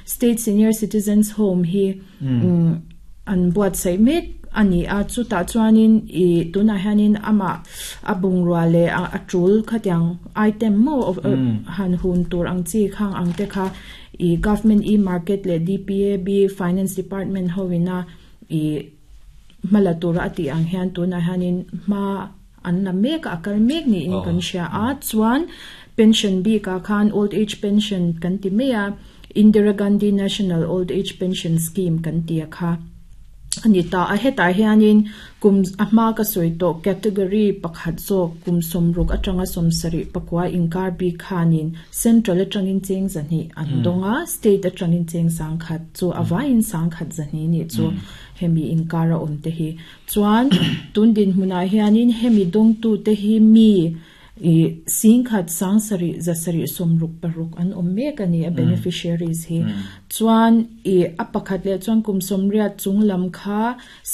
State Senior Citizens Home hi an buatsaih mek a ni a, chutah chuanin ih tunah hianin amah a bungrua leh a tul khatiang item maw han hun tur ang chi khang ang te kha ih Government e-market leh DPAB Finance Department ho ina ih hma la tura a tih ang hian tunah hianin hma an la mek a, a kal mek niin kan hria a, chuan pension bikah khan old age pension kan ti mai a, Indira Gandhi National Old Age Pension Scheme kan ti a kha a ni ta a, hetah hianin kum a hma ka sawi tawh category pakhat zawk kum sawmruk atanga sawmsarih pakua inkar bik khanin central atangin cheng zahnih an dawng a, state atangin cheng sangkhat chu a vaiin sangkhat zahnih nih chu hemi inkar a awm te hi. Chuan tun dinhmunah hianin hemi dawngtute hi mi ih singkhat sangsarih zasarih sawmruk paruk an awm mek a ni a beneficiaries hi. Chuan ih a pakhat leh chuan kum sawmriat chung lam kha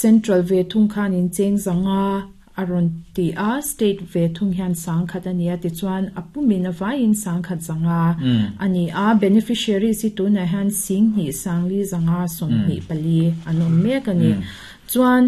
central ve thung khanin cheng zanga a rawn ti a, state ve thung hian sangkhat a ni a tichuan a pumin a vaiin sangkhat zanga a ni a. Beneficiaries hi tunah hian singhnih sangli zanga sawmhnih pali an awm mek a ni. Chuan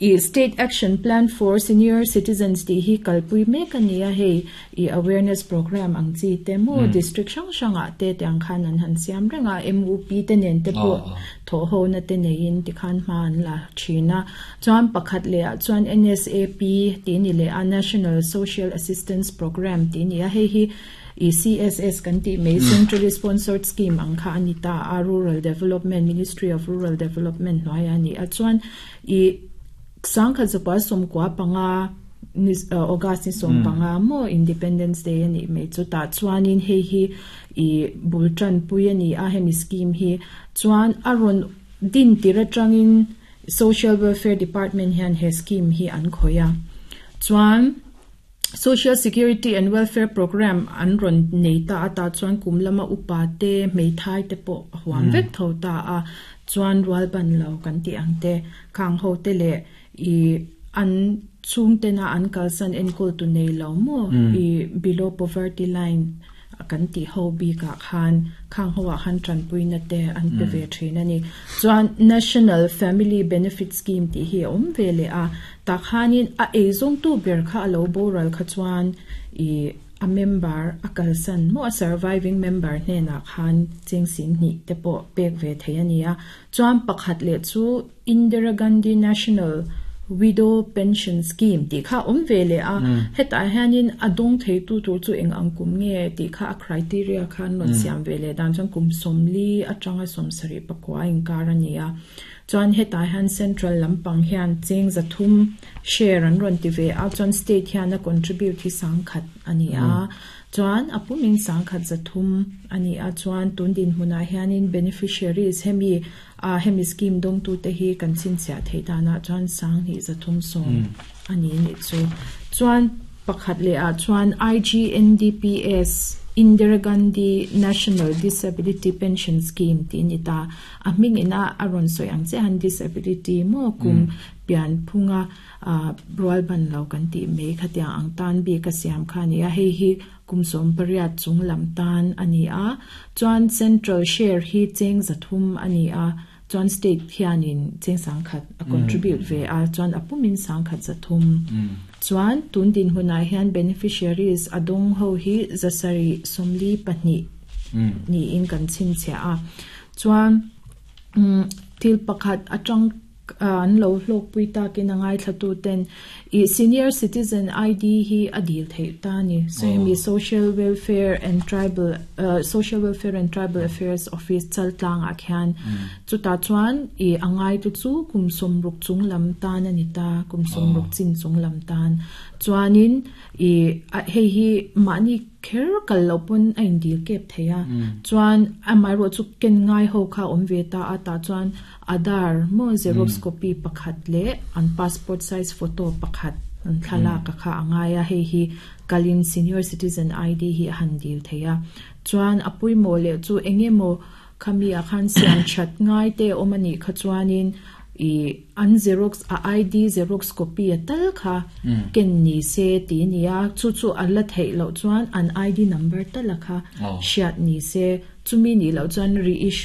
i State Action Plan for Senior Citizens tih hi kalpui mek a ni a, hei i awareness program ang chi te maw district hrang hrangah te tiang khan an han siam reng a, MUP te nen te pawh thawhhona te neiin tikhan hma an la thin a. Chuan pakhat leh ah chuan NSAP tih ni leh a, National Social Assistance Programme tih ni a, hei hi I CSS kan tih mai Centrally Sponsored Scheme ang kha a ni ta a, Rural Development, Ministry of Rural Development hnuaiah a ni a. Chuan i sangkhat zakua sawmkua panga ni August ni sawm panga maw Independence Day a nih mai chu tah chuanin hei hi i bul tanpui a ni a hemi scheme hi. Chuan a rawn din tir atangin Social Welfare Department hian he scheme hi an khawih a. Chuan. Social Security and Welfare Programme an rawn nei ta a tah chuan kum lama upa te, hmeithai te pawh a huam vek tho ta a, chuan rual ban lo kan tih ang te, khang ho te leh ih an chhungtena an kalsan enkawl tu nei lo maw ih below poverty line kan tih ho bikah khan khang ho ah khan tanpuina te an pe ve thin a ni. Chuan National Family Benefit Scheme tih hi a awm ve leh a, tah khanin a eizawngtu ber kha a lo boral kha chuan ih a member a kalsan maw a surviving member hnenah khan cheng sing hnih te pawh pek ve thei a ni a. Chuan pakhat leh chu Indira Gandhi National Widow Pension Scheme tih kha a awm ve leh a, hetah hianin a dawng theitu tur chu eng ang kum nge tih kha a criteria kha an rawn siam ve leh dan chuan kum sawmli atanga sawmsarih pakua inkar a ni a. Chuan hetah hian central lampang hian cheng zathum share an rawn ti ve a, chuan state hian a contribute hi sangkhat a ni a. Chuan a pumin sangkhat zathum a ni a, chuan tun dinhmunah hianin beneficiaries hemi A hemi scheme dawngtute hi kan chhinchhiah theih danah chuan sanghnih zathum sawm a ni nih chu. Chuan pakhat leh ah chuan IGNDPS, Indira Gandhi National Disability Pension Scheme tih a ni ta. A hming ina a rawn sawi ang chiah han disability maw kum pian phunga rual ban lo kan tih mai khatiang ang tan bik a siam kha a ni a. Hei hi Kum sawmpariat chung lam tan a ni a, chuan Central share hi cheng zathum a ni a, chuan State hianin cheng sangkhat a contribute ve a, chuan a pumin sangkhat zathum. Chuan tun dinhmunah hian beneficiaries a dawng ho hi zasarih sawmli pahnih niin kan chhinchhiah a, chuan thil pakhat atang An lo hlawkpui takin a ngaithlatuten i Senior Citizen ID hi a dil theih ta a ni. So hemi Social Welfare and Tribal Social Welfare and Tribal Affairs Office Chaltlangah khian chutah chuan i a ngaitu chu kum sawmruk chung lam tan a ni ta, kum sawmruk chin chung lam tan. Chuanin i hei hi mahni Kher kal loh pawn a indil kep thei a, chuan amaherawh chu ken ngai ho kha a awm ve ta a, tah chuan Aadhaar maw xerox copy pakhat leh an passport size photo pakhat an thlalak a kha a ngai a, hei hi kalin senior citizen ID hi a han dil thei a, chuan a pawimawh leh chu eng emaw Khami ah khan siam that ngai te awm a nih kha chuanin ih an xerox a ID xerox copy a tal kha ken ni se ti a ni a, chu chu a la theih loh chuan an ID number tal a kha hriat ni se. Chumi nih loh chuan reissue.